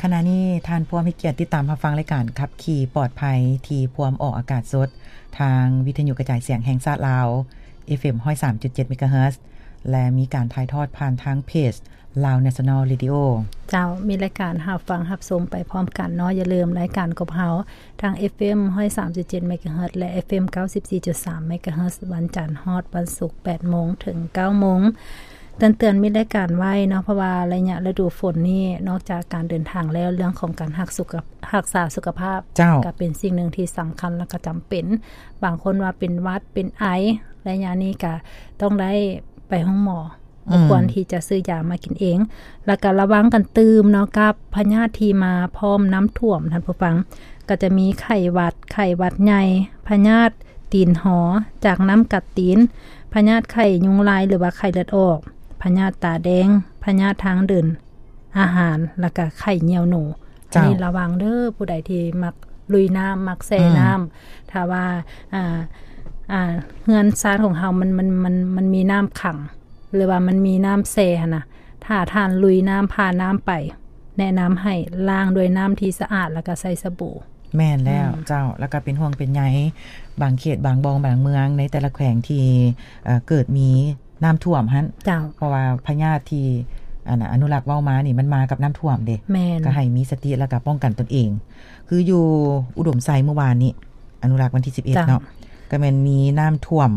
ຂະນະນີ້ທ່ານພວມໃຫ້ກຽດຕິດຕາມຮັບຟັງລາຍການຂັບຂີ່ປອດໄພ ທີ່ພວມອອກອາກາດສົດທາງວິທະຍຸກະຈາຍສຽງແຫ່ງຊາດລາວ ເອັຟເອັມຮ້ອຍສາມຈຸດເຈັດເມກາເຮີດ ແລະ ມີການຖ່າຍທອດຜ່ານທາງເພຈ Lao National Radio. ເຈົ້າ, ມີລາຍການຮັບຟັງຮັບຊົມໄປພ້ອມກັນເນາະ. ຢ່າລືມລາຍການກັບເຮົາທາງ ເອັຟເອັມຮ້ອຍສາມຈຸດເຈັດເມກາເຮີດ ແລະ ເອັຟເອັມເກົ້າສິບສີ່ຈຸດສາມເມກາເຮີດ ວັນຈັນຮອດວັນສຸກ ແປດໂມງເຖິງເກົ້າໂມງ. ເຕືອນໆ ມີລາຍການໄວ້ເນາະ ເພາະວ່າໄລຍະລະດູຝົນນີ້ ນອກຈາກການເດີນທາງແລ້ວ ເລື່ອງຂອງການຮັກສຸຂະ ຮັກສາສຸຂະພາບ ເຈົ້າ ກໍເປັນສິ່ງໜຶ່ງທີ່ສຳຄັນ ແລະ ກໍຈຳເປັນ. ບາງຄົນວ່າເປັນຫວັດ ເປັນໄອ ໄລຍະນີ້ກໍຕ້ອງໄດ້ໄປໂຮງໝໍ. ອືມ ບໍ່ຄວນທີ່ຈະຊື້ຢາມາກິນເອງ ແລ້ວກໍລະວັງກັນຕື່ມເນາະ ກັບພະຍາດທີ່ມາພ້ອມນ້ຳຖ້ວມ ທ່ານຜູ້ຟັງ. ກໍຈະມີໄຂ້ຫວັດ, ໄຂ້ຫວັດໃຫຍ່, ພະຍາດຕີນຫໍ ຈາກນ້ຳກັດຕີນ, ພະຍາດໄຂ້ຍຸງລາຍ ຫຼືວ່າໄຂ້ເລືອດອອກ, ພະຍາດຕາແດງ, ພະຍາດທາງເດີນອາຫານ ແລ້ວກໍໄຂ້ໜຽວໜູ. ເຈົ້າ ອັນນີ້ລະວັງເດີ້ ຜູ້ໃດທີ່ມັກລຸຍນ້ຳ ມັກແຊ່ ອືມ ນ້ຳ. ຖ້າວ່າ ອ່າ ອ່າ ເຮືອນຊານຂອງເຮົາມັນ ມັນ ມັນ ມັນມີນ້ຳຂັງ ຫຼືວ່າມັນມີນ້ຳແຊ່ຫັ້ນນະ, ຖ້າທ່ານລຸຍນ້ຳ ຜ່ານນ້ຳໄປ ແນະນຳໃຫ້ລ້າງດ້ວຍນ້ຳທີ່ສະອາດ ແລ້ວກໍໃຊ້ສະບູ. ແມ່ນແລ້ວ ອືມ ເຈົ້າ. ແລ້ວກໍເປັນຫ່ວງເປັນໃຍ ບາງເຂດ ບາງບ່ອນ ບາງເມືອງ ໃນແຕ່ລະແຂວງທີ່ ເອີ ເກີດມີນ້ຳຖ້ວມຫັ້ນ. ເຈົ້າ. ເພາະວ່າພະຍາດທີ່ ອັນ ອະນຸລັກເວົ້າມານີ້ ມັນມາກັບນ້ຳຖ້ວມເດ້. ແມ່ນ. ກໍໃຫ້ມີສະຕິ ແລ້ວກໍປ້ອງກັນຕົນເອງ. ຄືຢູ່ອຸດົມໄຊມື້ວານນີ້ ອະນຸລັກວັນທີສິບເອັດ ເຈົ້າ ເນາະ ກໍແມ່ນມີນ້ຳຖ້ວມ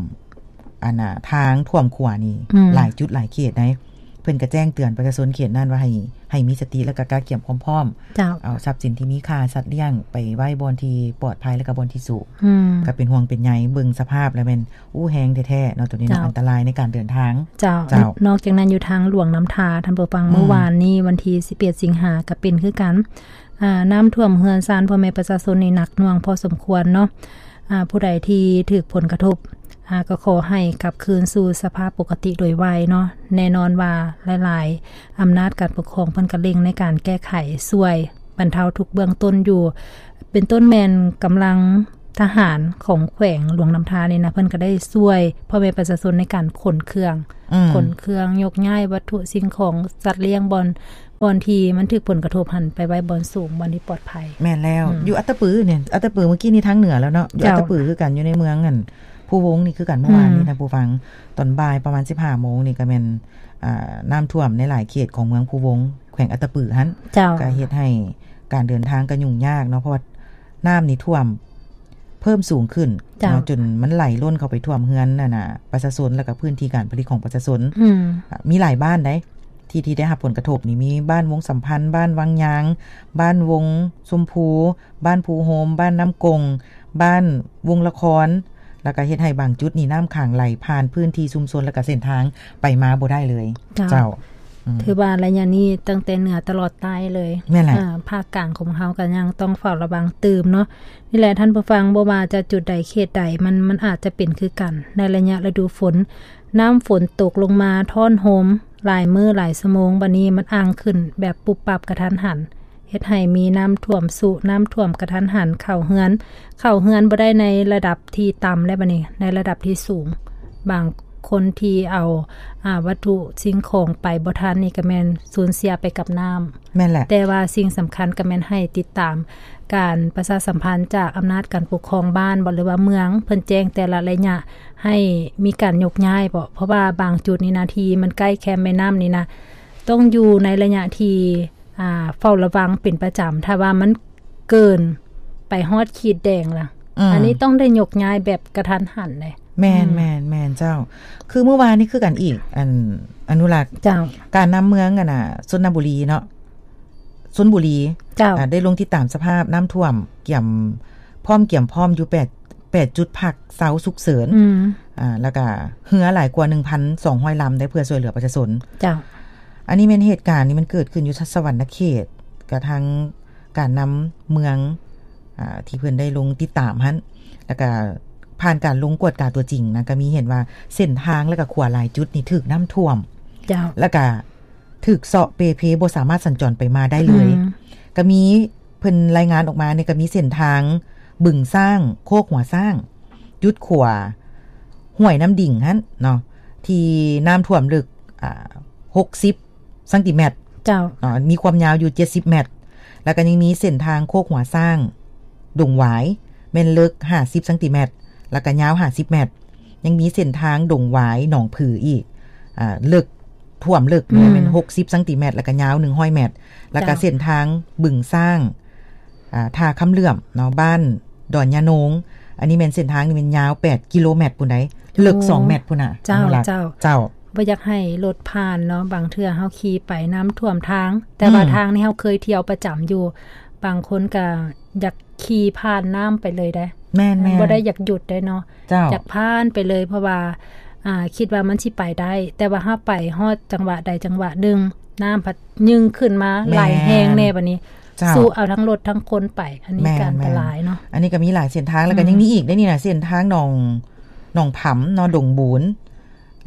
ອັນນ່າ ທາງຖ້ວມຂົວນີ້ ອືມ ຫຼາຍຈຸດຫຼາຍເຂດໃດ໋. ເພິ່ນກໍແຈ້ງເຕືອນປະຊາຊົນເຂດນັ້ນວ່າໃຫ້ ໃຫ້ມີສະຕິ ແລ້ວກໍກະກຽມຄວາມພ້ອມ. ເຈົ້າ. ເອົາຊັບສິນທີ່ມີຄ່າ ສັດລ້ຽງ ໄປໄວ້ບ່ອນທີ່ປອດໄພ ແລ້ວກໍບ່ອນທີ່ສູງ. ອືມ. ກໍເປັນຫ່ວງເປັນໃຍ ເບິ່ງສະພາບແລ້ວແມ່ນ ໂອ້ ແຮງແທ້ໆ ເນາະ ໂຕນີ້ເນາະ. ເຈົ້າ. ອັນຕະລາຍໃນການເດີນທາງ. ເຈົ້າ. ເຈົ້າ. ນອກຈາກນັ້ນ ຢູ່ທາງຫຼວງນ້ຳທາ ທ່ານຜູ້ຟັງ ອືມ ມື້ວານນີ້ ວັນທີສິບເອັດ ສິງຫາ ກໍເປັນຄືກັນ. ອ່າ ນ້ຳຖ້ວມເຮືອນຊານພໍ່ແມ່ປະຊາຊົນນີ້ໜັກໜ່ວງພໍສົມຄວນເນາະ. ອ່າ ຜູ້ໃດທີ່ຖືກຜົນກະທົບ ອ່າ ກໍຂໍໃຫ້ກັບຄືນສູ່ສະພາບປົກກະຕິໂດຍໄວເນາະ. ແນ່ນອນວ່າຫຼາຍໆອຳນາດການປົກຄອງເພິ່ນກໍເລັ່ງໃນການແກ້ໄຂ ຊ່ວຍບັນເທົາທຸກເບື້ອງຕົ້ນຢູ່ ເປັນຕົ້ນແມ່ນກຳລັງທະຫານຂອງແຂວງຫຼວງນ້ຳທານີ້ນະ ເພິ່ນກໍໄດ້ຊ່ວຍພໍ່ແມ່ປະຊາຊົນໃນການຂົນເຄື່ອງ ອືມ ຂົນເຄື່ອງ ຍົກຍ້າຍວັດຖຸສິ່ງຂອງ ສັດລ້ຽງ ບ່ອນ ບ່ອນທີ່ມັນຖືກຜົນກະທົບຫັ້ນ ໄປໄວ້ບ່ອນສູງ ບ່ອນທີ່ປອດໄພ. ແມ່ນແລ້ວ. ອືມ ຢູ່ອັດຕະປືນີ້ ອັດຕະປືເມື່ອກີ້ນີ້ທາງເໜືອແລ້ວເນາະ. ຢູ່ ເຈົ້າ ອັດຕະປືຄືກັນ ຢູ່ໃນເມືອງ ອັນ ພູວົງນີ້ຄືກັນ. ອືມ ເມື່ອວານນີ້ ທ່ານຜູ້ຟັງ ຕອນບ່າຍປະມານສິບຫ້າໂມງນີ້ ກໍແມ່ນ ອ່າ ນ້ຳຖ້ວມໃນຫຼາຍເຂດຂອງເມືອງພູວົງ ແຂວງອັດຕະປືຫັ້ນ. ເຈົ້າ. ກໍເຮັດໃຫ້ການເດີນທາງກໍຫຍຸ້ງຍາກເນາະ ເພາະວ່ານ້ຳນີ້ຖ້ວມ ເພີ່ມສູງຂຶ້ນ ເຈົ້າ ເນາະ ຈົນມັນໄຫຼລົ້ນເຂົ້າໄປຖ້ວມເຮືອນ ອັນນ່າ ປະຊາຊົນ ແລ້ວກໍພື້ນທີ່ການຜະລິດຂອງປະຊາຊົນ. ອືມ ອາ ມີຫຼາຍບ້ານໃດ໋ ທີ່ ທີ່ໄດ້ຮັບຜົນກະທົບນີ້ ມີບ້ານວົງສຳພັນ, ບ້ານວັງຍາງ, ບ້ານວົງຊົມພູ, ບ້ານພູໂຮມ, ບ້ານນ້ຳກົງ, ບ້ານວົງລະຄອນ ແລ້ວກໍເຮັດໃຫ້ບາງຈຸດນີ້ນ້ຳຂັງໄຫຼຜ່ານພື້ນທີ່ຊຸມຊົນ ແລ້ວກໍເສັ້ນທາງໄປມາບໍ່ໄດ້ເລີຍ. ເຈົ້າ. ເຈົ້າ. ອືມ ຖືວ່າໄລຍະນີ້ຕັ້ງແຕ່ເໜືອຕະຫຼອດໃຕ້ເລີຍ. ແມ່ນແຫຼະ. ອາ ພາກກາງຂອງເຮົາກໍຍັງຕ້ອງເຝົ້າລະວັງຕື່ມເນາະ. ນີ້ແຫຼະທ່ານຜູ້ຟັງ, ບໍ່ວ່າຈະຈຸດໃດເຂດໃດ ມັນ ມັນອາດຈະເປັນຄືກັນໃນໄລຍະລະດູຝົນ. ນ້ຳຝົນຕົກລົງມາທ້ອນໂຮມຫຼາຍມື້ຫຼາຍຊົ່ວໂມງ, ບາດນີ້ມັນອ່າງຂຶ້ນແບບປຸບປັບກະທັນຫັນ, ເຮັດໃຫ້ມີນ້ຳຖ້ວມຊຸ, ນ້ຳຖ້ວມກະທັນຫັນເຂົ້າເຮືອນ, ເຂົ້າເຮືອນບໍ່ໄດ້ໃນລະດັບທີ່ຕ່ຳແລ້ວ ບາດນີ້ໃນລະດັບທີ່ສູງ. ບາງຄົນທີ່ເອົາ ອາ ວັດຖຸສິ່ງຂອງໄປບໍ່ທັນນີ້ ກໍແມ່ນສູນເສຍໄປກັບນ້ຳ. ແມ່ນແຫຼະ. ແຕ່ວ່າສິ່ງສຳຄັນກໍແມ່ນໃຫ້ຕິດຕາມການປະຊາສຳພັນຈາກອຳນາດການປົກຄອງບ້ານບໍ ຫຼືວ່າເມືອງ ເພິ່ນແຈ້ງແຕ່ລະໄລຍະໃຫ້ມີການຍົກຍ້າຍບໍ, ເພາະວ່າບາງຈຸດນີ້ນະ ທີ່ມັນໃກ້ແຄມແມ່ນ້ຳນີ້ນະ ຕ້ອງຢູ່ໃນໄລຍະທີ່ ອ່າ ເຝົ້າລະວັງເປັນປະຈຳ. ຖ້າວ່າມັນເກີນໄປຮອດຂີດແດງລະ ອືມ ອັນນີ້ຕ້ອງໄດ້ຍົກຍ້າຍແບບກະທັນຫັນເດ້. ແມ່ນ ອືມ ແມ່ນ ແມ່ນເຈົ້າ. ຄືມື້ວານນີ້ຄືກັນອີກ ອັນ ອະນຸລັກ ເຈົ້າ ການນຳເມືອງ ອັນນ່າ ຊົນນະບູລີເນາະ ຊົນບູລີ ເຈົ້າ ອາ ໄດ້ລົງຕິດຕາມສະພາບນ້ຳຖ້ວມ ກຽມ ພ້ອມ ກຽມພ້ອມຢູ່ ແປດ ແປດຈຸດພັກເຊົາສຸກເສີນ ອືມ ອາ ແລ້ວກະເຮືອຫຼາຍກວ່າ ໜຶ່ງພັນສອງຮ້ອຍລຳ ໄດ້ເພື່ອຊ່ວຍເຫຼືອປະຊາຊົນ. ເຈົ້າ. ອັນນີ້ແມ່ນເຫດການນີ້ມັນເກີດຂຶ້ນຢູ່ສະຫວັນນະເຂດ ກະທາງ ການນຳເມືອງ ອາ ທີ່ເພິ່ນໄດ້ລົງຕິດຕາມຫັ້ນ ແລ້ວກະຜ່ານການລົງກວດກາຕົວຈິງນະ ກະມີເຫັນວ່າເສັ້ນທາງ ແລ້ວກະຂົວຫຼາຍຈຸດນີ້ຖືກນ້ຳຖ້ວມ ເຈົ້າ ແລ້ວກະຖືກເຊາະເປ່ເພ ບໍ່ສາມາດສັນຈອນໄປມາໄດ້ເລີຍ. ອືມ ກະມີ ເພິ່ນລາຍງານອອກມານີ້ ກະມີເສັ້ນທາງບຶງຊ້າງ ໂຄກຫົວຊ້າງ ຈຸດຂົວຫ້ວຍນ້ຳດິງຫັ້ນເນາະ ທີ່ນ້ຳຖ້ວມເລິກ ອາ ຫົກສິບຊັງຕີແມັດ ເຈົ້າ ເນາະ ມີຄວາມຍາວຢູ່ເຈັດສິບແມັດ ແລ້ວກໍຍັງມີເສັ້ນທາງໂຄກຫົວຊ້າງ ດົງຫວາຍ ແມ່ນເລິກຫ້າສິບຊັງຕີແມັດ ແລ້ວກໍຍາວຫ້າສິບແມັດ. ຍັງມີເສັ້ນທາງດົງຫວາຍ ໜອງຜືອີກ ອ່າ ເລິກ ຖ້ວມເລິກ ອືມ ແມ່ນຫົກສິບຊັງຕີແມັດ ແລ້ວກໍຍາວໜຶ່ງຮ້ອຍແມັດ. ແລ້ວກໍ ເຈົ້າ ເສັ້ນທາງບຶງຊ້າງ ອ່າ ທ່າຄຳເຫຼື້ອມເນາະ ບ້ານດອນຍາໂນງ ອັນນີ້ແມ່ນເສັ້ນທາງນີ້ແມ່ນຍາວແປດກິໂລແມັດພຸ້ນໃດ໋ ເລິກສອງແມັດພຸ້ນນະ. ເຈົ້າ ເຈົ້າ ເຈົ້າ ບໍ່ຢາກໃຫ້ລົດຜ່ານເນາະ ບາງເທື່ອເຮົາຂີ່ໄປນ້ຳຖ້ວມທາງ ແຕ່ວ່າ ອືມ ທາງນີ້ເຮົາເຄີຍທ່ຽວປະຈຳຢູ່ ບາງຄົນກໍຢາກຂີ່ຜ່ານນ້ຳໄປເລີຍໄດ໋. ແມ່ນໆ ບໍ່ໄດ້ຢາກຢຸດໄດ໋ເນາະ. ເຈົ້າ ຢາກຜ່ານໄປເລີຍ ເພາະວ່າ ອ່າ ຄິດວ່າມັນຊິໄປໄດ້ ແຕ່ວ່າເຮົາໄປຮອດຈັງຫວະໃດຈັງຫວະໜຶ່ງ ນ້ຳພັດຍື່ນມາ ແມ່ນ ໄຫຼແຮງແດ່ ບັດນີ້ ເຈົ້າ ສູ້ເອົາທັງລົດທັງຄົນໄປ ອັນນີ້ ແມ່ນໆ ກໍອັນຕະລາຍເນາະ. ອັນນີ້ກໍມີຫຼາຍເສັ້ນທາງ ແລ້ວກໍ ອືມ ຍັງມີອີກໄດ໋ນີ້ນະ ເສັ້ນທາງໜອງ ໜອງຜຳເນາະ ດົງບູນ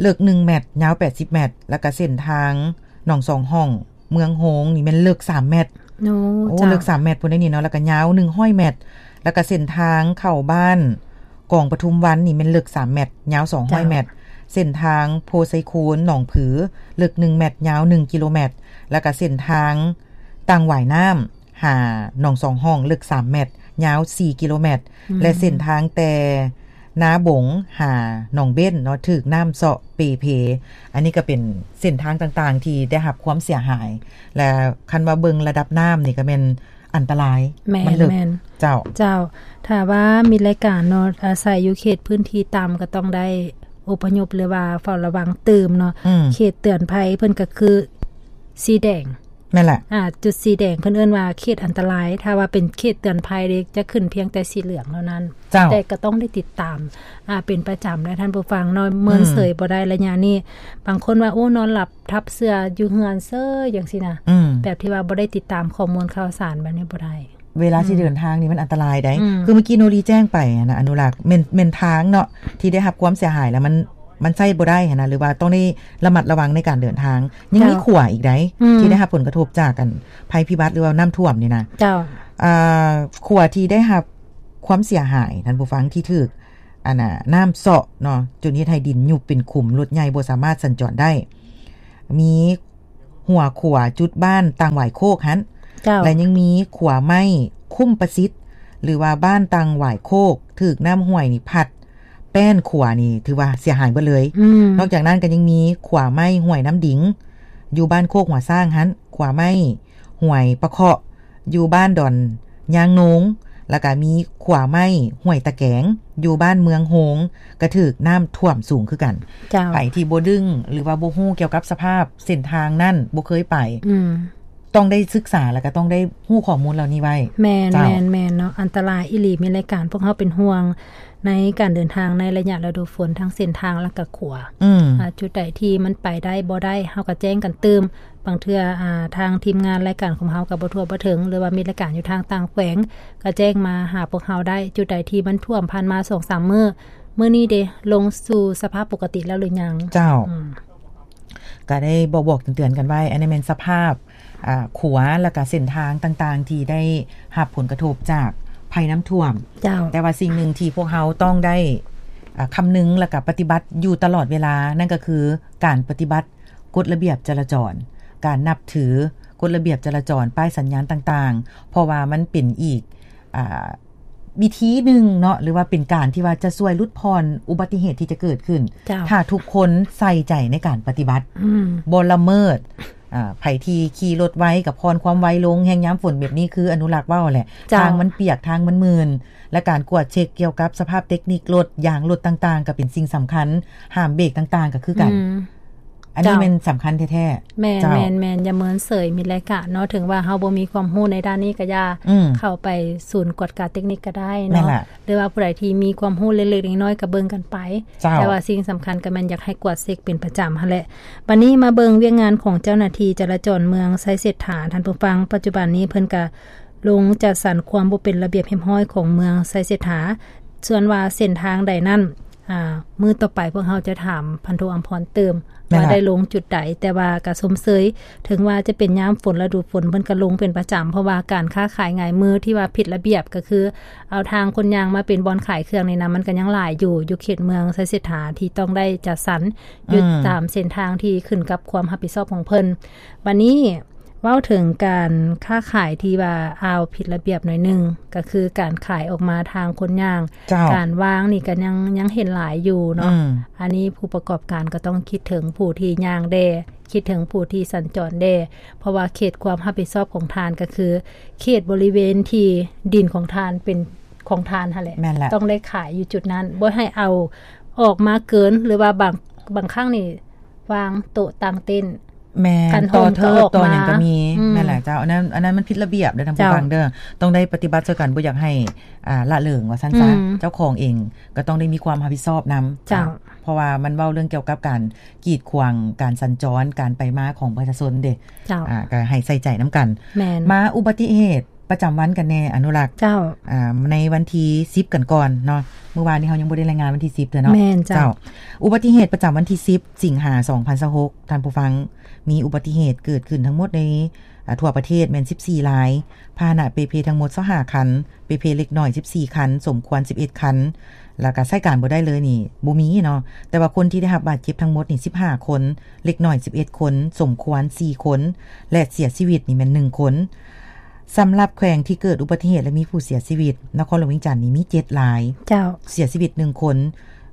ເລິກໜຶ່ງແມັດ ຍາວແປດສິບແມັດ ແລ້ວກໍເສັ້ນທາງໜອງສອງຫ້ອງ ເມືອງໂຮງນີ້ແມ່ນເລິກສາມແມັດ. ໂອ້ ໂອ້ ເຈົ້າ ເລິກສາມແມັດພຸ້ນໃດ໋ນີ້ເນາະ ແລ້ວກໍຍາວໜຶ່ງຮ້ອຍແມັດ. ແລ້ວກໍເສັ້ນທາງເຂົ້າບ້ານກອງປະທຸມວັນນີ້ແມ່ນເລິກສາມແມັດ ຍາວສອງຮ້ອຍແມັດ. ເຈົ້າ ເສັ້ນທາງໂພໄຊຄູນ ໜອງຜື ເລິກໜຶ່ງແມັດ ຍາວໜຶ່ງກິໂລແມັດ. ແລ້ວກໍເສັ້ນທາງຕ່າງຫວາຍນ້ຳ ຫາໜອງສອງຫ້ອງ ເລິກສາມແມັດ ຍາວສີ່ກິໂລແມັດ ອືມ ແລະ ເສັ້ນທາງແຕ່ນາບົງຫາໜອງເບັນເນາະ ຖືກນ້ຳເຊາະເປ່ເພ. ອັນນີ້ກໍເປັນເສັ້ນທາງຕ່າງໆທີ່ໄດ້ຮັບຄວາມເສຍຫາຍ ແລະ ຄັນວ່າເບິ່ງລະດັບນ້ຳນີ້ກໍແມ່ນອັນຕະລາຍ ແມ່ນ ມັນເລິກ ແມ່ນ ເຈົ້າ ເຈົ້າ. ຖ້າວ່າມີລາຍການເນາະ ອາໄສຢູ່ເຂດພື້ນທີ່ຕ່ຳ ກໍຕ້ອງໄດ້ອົບພະຍົບ ຫຼືວ່າເຝົ້າລະວັງຕື່ມເນາະ ອືມ ເຂດເຕືອນໄພເພິ່ນກໍຄືສີແດງ ແມ່ນແຫຼະ ອ່າ ຈຸດສີແດງເພິ່ນເອີ້ນວ່າເຂດອັນຕະລາຍ ຖ້າວ່າເປັນເຂດເຕືອນໄພເດ້ ຈະຂຶ້ນພຽງແຕ່ສີເຫຼືອງເທົ່ານັ້ນ ເຈົ້າ ແຕ່ກໍຕ້ອງໄດ້ຕິດຕາມ ອ່າ ເປັນປະຈຳນະທ່ານຜູ້ຟັງເນາະ ເມີນເສີຍ ອືມ ບໍ່ໄດ້ໄລຍະນີ້. ບາງຄົນວ່າ ໂອ້ ນອນຫຼັບທັບເສື່ອຢູ່ເຮືອນເສີຍ ຈັ່ງຊີ້ນະ ອືມ ແບບທີ່ວ່າບໍ່ໄດ້ຕິດຕາມຂໍ້ມູນຂ່າວສານແບບນີ້ບໍ່ໄດ້. ເວລາຊິ ອືມ ເດີນທາງນີ້ມັນອັນຕະລາຍໃດ໋ ອືມ ຄືເມື່ອກີ້ໂນລີແຈ້ງໄປຫັ້ນນະ ອະນຸລັກ ແມ່ນ ແມ່ນທາງເນາະ ທີ່ໄດ້ຮັບຄວາມເສຍຫາຍ ແລ້ວມັນ ມັນໃຊ້ບໍ່ໄດ້ຫັ້ນນະ ຫຼືວ່າຕ້ອງໄດ້ລະມັດລະວັງໃນການເດີນທາງ. ຍັງມີ ເຈົ້າ ຂົວອີກໃດ໋ ອືມ ທີ່ໄດ້ຮັບຜົນກະທົບຈາກ ອັນ ໄພພິບັດ ຫຼືວ່ານ້ຳຖ້ວມນີ້ນະ. ເຈົ້າ ອ່າ ຂົວທີ່ໄດ້ຮັບຄວາມເສຍຫາຍ ທ່ານຜູ້ຟັງ ທີ່ຖືກ ອັນນ່າ ນ້ຳເຊາະເນາະ ຈົນເຮັດໃຫ້ດິນຍຸບເປັນຂຸມ ລົດໃຫຍ່ບໍ່ສາມາດສັນຈອນໄດ້ ມີ ຫົວຂົວຈຸດບ້ານຕ່າງຫວາຍໂຄກຫັ້ນ ເຈົ້າ ແລະ ຍັງມີຂົວໄມ້ຄຸ້ມປະສິດ ຫຼືວ່າບ້ານຕ່າງຫວາຍໂຄກ ຖືກນ້ຳຫ້ວຍນີ້ພັດ ແປ້ນຂົວນີ້ຖືວ່າເສຍຫາຍເບິດເລີຍ. ອືມ ນອກຈາກນັ້ນກໍຍັງມີຂົວໄມ້ຫ້ວຍນ້ຳດິງ ຢູ່ບ້ານໂຄກຫົວຊ້າງຫັ້ນ, ຂົວໄມ້ຫ້ວຍປະເຄາະ ຢູ່ບ້ານດອນຍາງໂນງ ແລ້ວກະມີຂົວໄມ້ຫ້ວຍຕະແກງ ຢູ່ບ້ານເມືອງໂຮງ ກະຖືກນ້ຳຖ້ວມສູງຄືກັນ. ເຈົ້າ ໃຜທີ່ບໍ່ດຶງ ຫຼືວ່າບໍ່ຮູ້ກ່ຽວກັບສະພາບເສັ້ນທາງນັ້ນ ບໍ່ເຄີຍໄປ ອືມ ຕ້ອງໄດ້ສຶກສາ ແລ້ວກະຕ້ອງໄດ້ຮູ້ຂໍ້ມູນເຫຼົ່ານີ້ໄວ້. ແມ່ນ ເຈົ້າ ແມ່ນ ແມ່ນເນາະ ອັນຕະລາຍອີ່ຫຼີ. ມີລາຍການພວກເຮົາເປັນຫ່ວງໃນການເດີນທາງໃນໄລຍະລະດູຝົນ ທັງເສັ້ນທາງ ແລ້ວກະຂົວ. ອືມ ອ່າ ຈຸດໃດທີ່ມັນໄປໄດ້ບໍ່ໄດ້ ເຮົາກະແຈ້ງກັນຕື່ມ. ບາງເທື່ອ ອ່າ ທາງທີມງານລາຍການຂອງເຮົາກະບໍ່ທົ່ວບໍ່ເຖິງ ຫຼືວ່າມີລາຍການຢູ່ທາງຕ່າງແຂວງ ກະແຈ້ງມາຫາພວກເຮົາໄດ້. ຈຸດໃດທີ່ມັນຖ້ວມຜ່ານມາສອງສາມມື້ ມື້ນີ້ເດ ລົງສູ່ສະພາບປົກກະຕິແລ້ວຫຼືຍັງ? ເຈົ້າ ອືມ ກະໄດ້ບອກໆເຕືອນໆກັນໄວ້. ອັນນີ້ແມ່ນສະພາບ ອ່າ ຂົວ ແລ້ວກະເສັ້ນທາງຕ່າງໆ ທີ່ໄດ້ຮັບຜົນກະທົບຈາກໄພນ້ຳຖ້ວມ. ເຈົ້າ ແຕ່ວ່າສິ່ງໜຶ່ງທີ່ພວກເຮົາຕ້ອງໄດ້ ອ່າ ຄຳນຶງ ແລ້ວກະປະຕິບັດຢູ່ຕະຫຼອດເວລາ ນັ້ນກະຄືການປະຕິບັດ ກົດລະບຽບຈະລາຈອນ, ການນັບຖືກົດລະບຽບຈະລາຈອນ, ປ້າຍສັນຍານຕ່າງໆ ເພາະວ່າມັນເປັນອີກ ອ່າ ວິທີໜຶ່ງເນາະ ຫຼືວ່າເປັນການທີ່ວ່າຈະຊ່ວຍຫຼຸດຜ່ອນອຸບັດຕິເຫດທີ່ຈະເກີດຂຶ້ນ ເຈົ້າ ຖ້າທຸກຄົນໃສ່ໃຈໃນການປະຕິບັດ ອືມ ບໍ່ລະເມີດ. ອ່າ ໃຜທີ່ຂີ່ລົດໄວກະຜ່ອນຄວາມໄວລົງ, ແຮ່ງຍາມຝົນແບບນີ້ຄືອະນຸລັກເວົ້າແຫຼະ ເຈົ້າ ທາງມັນປຽກ ທາງມັນມື່ນ ແລະ ການກວດເຊັກກ່ຽວກັບສະພາບເຕັກນິກລົດ, ຢາງລົດຕ່າງໆ ກະເປັນສິ່ງສຳຄັນ, ຫ້າມເບກຕ່າງໆ ກະຄືກັນ. ອືມ ອັນນີ້ ເຈົ້າ ແມ່ນສຳຄັນແທ້ໆ. ແມ່ນ ເຈົ້າ ແມ່ນໆ ຢ່າເມີນເສີຍ ມີລາຍການເນາະ. ເຖິງວ່າເຮົາບໍ່ມີຄວາມຮູ້ໃນດ້ານນີ້ກະຢ່າ ອືມ ເຂົ້າໄປສູນກວດກາເຕັກນິກກະໄດ້ເນາະ ແມ່ນລະ ຫຼືວ່າຜູ້ໃດທີ່ມີຄວາມຮູ້ເລັກໆນ້ອຍໆກະເບິ່ງກັນໄປ. ເຈົ້າ ແຕ່ວ່າສິ່ງສຳຄັນກະແມ່ນຢາກໃຫ້ກວດເຊັກເປັນປະຈຳຫັ້ນແຫຼະ. ບາດນີ້ມາເບິ່ງວຽກງານຂອງເຈົ້າໜ້າທີ່ຈະລາຈອນເມືອງໄຊເສດຖາ ທ່ານຜູ້ຟັງ. ປັດຈຸບັນນີ້ເພິ່ນກະລົງຈັດສັນຄວາມບໍ່ເປັນລະບຽບຮຽບຮ້ອຍຂອງເມືອງໄຊເສດຖາ. ສ່ວນວ່າເສັ້ນທາງໃດນັ້ນ ອ່າ ມື້ຕໍ່ໄປພວກເຮົາຈະຖາມພັນໂທອຳພອນຕື່ມ ແມ່ນ ວ່າໄດ້ລົງຈຸດໃດ, ແຕ່ວ່າກະຊົມເຊີຍ ເຖິງວ່າຈະເປັນຍາມຝົນ ລະດູຝົນ ເພິ່ນກະລົງເປັນປະຈຳ ເພາະວ່າການຄ້າຂາຍຫງາຍມືທີ່ວ່າຜິດລະບຽບ ກະຄືເອົາທາງຄົນຍ່າງມາເປັນບ່ອນຂາຍເຄື່ອງນີ້ນະ ມັນກະຍັງຫຼາຍຢູ່ ຢູ່ເຂດເມືອງໄຊເສດຖາ ທີ່ຕ້ອງໄດ້ຈັດສັນ ອືມ ຢູ່ຕາມເສັ້ນທາງທີ່ຂຶ້ນກັບຄວາມຮັບຜິດຊອບຂອງເພິ່ນ. ບາດນີ້ ເວົ້າເຖິງການຄ້າຂາຍທີ່ວ່າອາວຜິດລະບຽບໜ້ອຍໜຶ່ງ ກໍຄືການຂາຍອອກມາທາງຄົນຍ່າງ ເຈົ້າ ການວາງນີ້ກໍຍັງ ຍັງເຫັນຫຼາຍຢູ່ເນາະ ອືມ ອັນນີ້ຜູ້ປະກອບການກໍຕ້ອງຄິດເຖິງຜູ້ທີ່ຍ່າງແດ່ ຄິດເຖິງຜູ້ທີ່ສັນຈອນແດ່ ເພາະວ່າເຂດຄວາມຮັບຜິດຊອບຂອງທ່ານກໍຄື ເຂດບໍລິເວນທີ່ດິນຂອງທ່ານເປັນຂອງທ່ານຫັ້ນແຫຼະ ແມ່ນແຫຼະ ຕ້ອງໄດ້ຂາຍຢູ່ຈຸດນັ້ນ ບໍ່ໃຫ້ເອົາອອກມາເກີນ ຫຼືວ່າບາງ ບາງຄັ້ງນີ້ ວາງໂຕະຕັ້ງເຕັນ ແມ່ນ ຕໍ່ເທີບຕໍ່ຫຍັງກໍມີ ອືມ ແມ່ນແຫຼະເຈົ້າ ອັນນັ້ນ ອັນນັ້ນມັນຜິດລະບຽບເດີທ່ານຜູ້ຟັງເດີ ເຈົ້າ ຕ້ອງໄດ້ປະຕິບັດຊ່ວຍກັນ ບໍ່ຢາກໃຫ້ ອ່າ ລະເລີງວ່າຊັ້ນຊະ ອືມ ເຈົ້າຂອງເອງກໍຕ້ອງໄດ້ມີຄວາມຮັບຜິດຊອບນຳ ເຈົ້າ ເຈົ້າ ເພາະວ່າມັນເວົ້າເລື່ອງກ່ຽວກັບການກີດຂວາງການສັນຈອນ ການໄປມາຂອງປະຊາຊົນເດ້ ເຈົ້າ ອ່າ ກໍໃຫ້ໃສ່ໃຈນຳກັນ ແມ່ນ ມາອຸບັດຕິເຫດ ປະຈຳວັນກັນແດ່ ອະນຸລັກ ເຈົ້າ ອ່າ ໃນວັນທີສິບກັນກ່ອນເນາະ ມື້ວານນີ້ເຮົາຍັງບໍ່ໄດ້ລາຍງານວັນທີສິບເທື່ອເນາະ ແມ່ນເຈົ້າ ເຈົ້າ ອຸບັດຕິເຫດປະຈຳວັນທີສິບ ສິງຫາ ສອງພັນຊາວຫົກ ທ່ານຜູ້ຟັງ ມີອຸບັດຕິເຫດເກີດຂຶ້ນທັງໝົດໃນ ອ່າ ທົ່ວປະເທດແມ່ນສິບສີ່ລາຍ ພາຫະນະເປ່ເພທັງໝົດຊາວຫ້າຄັນ ເປ່ເພເລັກນ້ອຍສິບສີ່ຄັນ ສົມຄວນສິບເອັດຄັນ ແລ້ວກະໃຊ້ການບໍ່ໄດ້ເລີຍນີ້ບໍ່ມີເນາະ ແຕ່ວ່າຄົນທີ່ໄດ້ຮັບບາດເຈັບທັງໝົດນີ້ສິບຫ້າຄົນ ເລັກນ້ອຍສິບເອັດຄົນ ສົມຄວນສີ່ຄົນ ແລະ ເສຍຊີວິດນີ້ແມ່ນໜຶ່ງຄົນ. ສຳລັບແຂວງທີ່ເກີດອຸບັດຕິເຫດ ແລະ ມີຜູ້ເສຍຊີວິດ ນະຄອນຫຼວງວຽງຈັນນີ້ມີເຈັດລາຍ ເຈົ້າ ເສຍຊີວິດໜຶ່ງຄົນ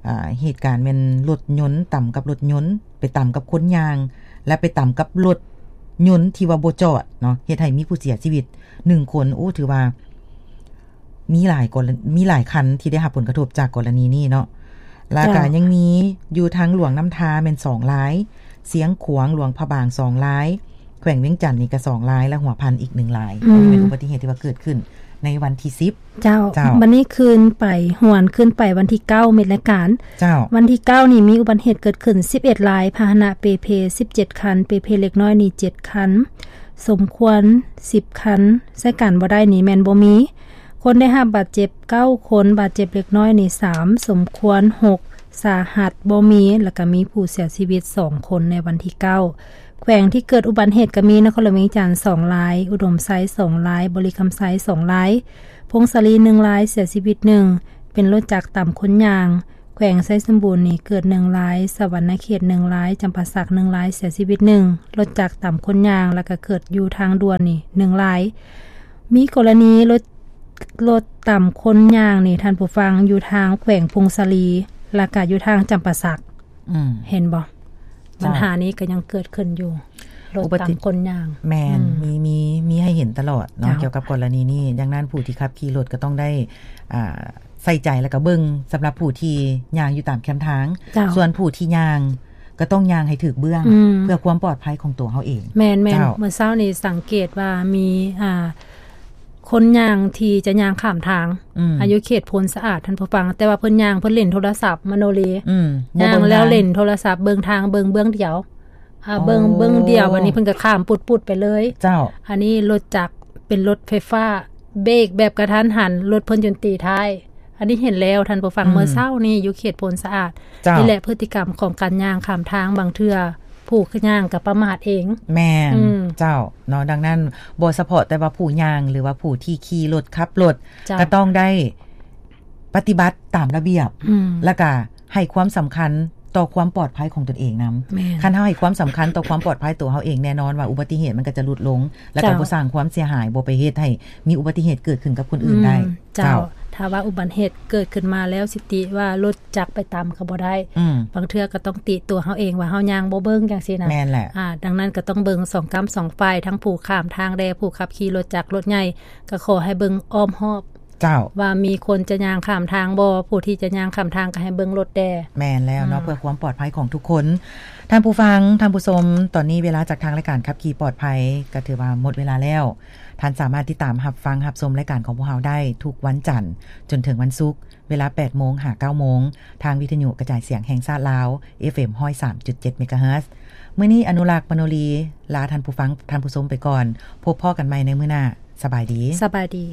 ອ່າ ເຫດການແມ່ນລົດຍົນຕຳກັບລົດຍົນ ໄປຕຳກັບຄົນຍ່າງ ແລະ ໄປຕຳກັບລົດຍົນທີ່ວ່າບໍ່ຈອດເນາະ ເຮັດໃຫ້ມີຜູ້ເສຍຊີວິດໜຶ່ງຄົນ ໂອ້ ຖືວ່າ ມີຫຼາຍກໍ ມີຫຼາຍຄັນທີ່ໄດ້ຮັບຜົນກະທົບຈາກກໍລະນີນີ້ເນາະ ແລ້ວກະ ເຈົ້າ ຍັງມີຢູ່ທາງຫຼວງນ້ຳທາແມ່ນສອງລາຍ ຊຽງຂວາງ ຫຼວງພະບາງສອງລາຍ ແຂວງວຽງຈັນນີ້ກະສອງລາຍ ແລະ ຫົວພັນອີກໜຶ່ງລາຍ ອືມ ອັນນີ້ເປັນອຸບັດຕິເຫດທີ່ວ່າເກີດຂຶ້ນໃນວັນທີສິບ ເຈົ້າ ເຈົ້າ ບັດນີ້ຄືນໄປ ຫວນຄືນໄປວັນທີເກົ້າ ເມັດລາຍການ ເຈົ້າ ວັນທີເກົ້ານີ້ມີອຸບັດຕິເຫດເກີດຂຶ້ນສິບເອັດລາຍ ພາຫະນະເປ່ເພສິບເຈັດຄັນ ເປ່ເພເລັກນ້ອຍນີ້ເຈັດຄັນ ສົມຄວນສິບຄັນ ໃຊ້ການບໍ່ໄດ້ນີ້ແມ່ນບໍ່ມີ ຄົນໄດ້ຮັບບາດເຈັບເກົ້າຄົນ ບາດເຈັບເລັກນ້ອຍນີ້ສາມ ສົມຄວນຫົກ ສາຫັດບໍ່ມີ ແລ້ວກະມີຜູ້ເສຍຊີວິດສອງຄົນໃນວັນທີເກົ້າ ແຂວງທີ່ເກີດອຸບັດເຫດກະມີນະຄອນຫຼວງວຽງຈັນສອງລາຍ ອຸດົມໄຊສອງລາຍ ບໍລິຄຳໄຊສອງລາຍ ຜົ້ງສາລີໜຶ່ງລາຍ ເສຍຊີວິດໜຶ່ງ ເປັນລົດຈັກຕຳຄົນຍ່າງ ແຂວງໄຊສົມບູນນີ້ເກີດໜຶ່ງລາຍ ສະຫວັນນະເຂດໜຶ່ງລາຍ ຈຳປາສັກໜຶ່ງລາຍ ເສຍຊີວິດໜຶ່ງ ລົດຈັກຕຳຄົນຍ່າງ ແລ້ວກະເກີດຢູ່ທາງດ່ວນນີ້ໜຶ່ງລາຍ ມີກໍລະນີລົດ ລົດຕຳຄົນຍ່າງນີ້ ທ່ານຜູ້ຟັງ ຢູ່ທາງແຂວງຜົ້ງສາລີ ແລ້ວກະຢູ່ທາງຈຳປາສັກ ອືມ ເຫັນບໍ່? ເຈົ້າ ບັນຫານີ້ກໍຍັງເກີດຂຶ້ນຢູ່ ລົດຕຳຄົນຍ່າງ ແມ່ນ ອືມ ມີ ມີ ມີໃຫ້ເຫັນຕະຫຼອດເນາະ ເຈົ້າ ກ່ຽວກັບກໍລະນີນີ້ ດັ່ງນັ້ນຜູ້ທີ່ຂັບຂີ່ລົດກໍຕ້ອງໄດ້ ອ່າ ໃສ່ໃຈ ແລ້ວກໍເບິ່ງສຳລັບຜູ້ທີ່ຍ່າງຢູ່ຕາມແຄມທາງ ເຈົ້າ ສ່ວນຜູ້ທີ່ຍ່າງກໍຕ້ອງຍ່າງໃຫ້ຖືກເບື້ອງ ອືມ ເພື່ອຄວາມປອດໄພຂອງຕົວເຮົາເອງ ແມ່ນໆ ເຈົ້າ ເມື່ອເຊົ້ານີ້ສັງເກດວ່າມີ ອ່າ ຄົນຍ່າງທີ່ຈະຍ່າງຂ້າມທາງ ອືມ ອາ ຢູ່ເຂດໂພນສະອາດ ທ່ານຜູ້ຟັງ ແຕ່ວ່າເພິ່ນຍ່າງ ເພິ່ນຫຼິ້ນໂທລະສັບ ມະໂນລີ ອືມ ຍ່າງແລ້ວຫຼິ້ນໂທລະສັບ ເບິ່ງທາງ ເບິ່ງເບື້ອງດຽວ ອາ ເບິ່ງ ເບິ່ງດຽວ ບັດນີ້ເພິ່ນກໍຂ້າມປຸດໆໄປເລີຍ ເຈົ້າ ອັນນີ້ລົດຈັກເປັນລົດໄຟຟ້າ ເບກແບບກະທັນຫັນ ລົດເພິ່ນຈົນຕີທ້າຍ ອັນນີ້ເຫັນແລ້ວທ່ານຜູ້ຟັງ ອືມ ເມື່ອເຊົ້ານີ້ຢູ່ເຂດໂພນສະອາດ ເຈົ້າ ນີ້ແຫຼະ ພຶດຕິກຳຂອງການຍ່າງຂ້າມທາງ ບາງເທື່ອຜູ້ຍ່າງກໍປະໝາດເອງ ແມ່ນ ອືມ ເຈົ້າ ເນາະ ດັ່ງນັ້ນບໍ່ສະເພາະແຕ່ວ່າຜູ້ຍ່າງ ຫຼືວ່າຜູ້ທີ່ຂີ່ລົດ ຂັບລົດ ເຈົ້າ ກໍຕ້ອງໄດ້ປະຕິບັດຕາມລະບຽບ ອືມ ແລ້ວກະໃຫ້ຄວາມສຳຄັນຕໍ່ຄວາມປອດໄພຂອງຕົນເອງນຳ ແມ່ນ ຄັນເຮົາໃຫ້ຄວາມສຳຄັນຕໍ່ຄວາມປອດໄພຕົວເຮົາເອງ ແນ່ນອນວ່າອຸບັດຕິເຫດມັນກໍຈະຫຼຸດລົງ ແລ້ວກໍ ເຈົ້າ ບໍ່ສ້າງຄວາມເສຍຫາຍ ບໍ່ໄປເຮັດໃຫ້ມີອຸບັດຕິເຫດເກີດຂຶ້ນກັບຄົນອື່ນໄດ້ ອືມ ເຈົ້າ ເຈົ້າ ຖ້າວ່າອຸບັດຕິເຫດເກີດຂຶ້ນມາແລ້ວ ຊິຕິວ່າລົດຈັກໄປຕຳກໍບໍ່ໄດ້ ອືມ ບາງເທື່ອກໍຕ້ອງຕິຕົວເຮົາເອງວ່າເຮົາຍ່າງບໍ່ເບິ່ງຈັ່ງຊີ້ນະ ແມ່ນແຫຼະ ອາ ດັ່ງນັ້ນກໍຕ້ອງເບິ່ງສອງກ້ຳສອງຝ່າຍ ທັງຜູ້ຂ້າມທາງແດ່ ຜູ້ຂັບຂີ່ລົດຈັກລົດໃຫຍ່ ກໍຂໍໃຫ້ເບິ່ງອ້ອມຮອບ ເຈົ້າ ວ່າມີຄົນຈະຍ່າງຂ້າມທາງບໍ່ ຜູ້ທີ່ຈະຍ່າງຂ້າມທາງກໍໃຫ້ເບິ່ງລົດແດ່ ແມ່ນແລ້ວເນາະ ອືມ ເພື່ອຄວາມປອດໄພຂອງທຸກຄົນ ທ່ານຜູ້ຟັງ ທ່ານຜູ້ຊົມ ຕອນນີ້ເວລາຈາກທາງລາຍການຂັບຂີ່ປອດໄພກໍຖືວ່າໝົດເວລາແລ້ວ ທ່ານສາມາດຕິດຕາມຮັບຟັງຮັບຊົມລາຍການຂອງພວກເຮົາໄດ້ທຸກວັນຈັນຈົນເຖິງວັນສຸກ ເວລາແປດໂມງຫາເກົ້າໂມງ ທາງວິທະຍຸກະຈາຍສຽງແຫ່ງຊາດລາວ ເອັຟເອັມ ຮ້ອຍສາມຈຸດເຈັດ ເມກາເຮີດ. ມື້ນີ້ອະນຸລັກ ມະໂນລີ ລາທ່ານຜູ້ຟັງ ທ່ານຜູ້ຊົມໄປກ່ອນ. ພົບພໍ້ກັນໃໝ່ໃນມື້ໜ້າ. ສະບາຍດີ. ສະບາຍດີ.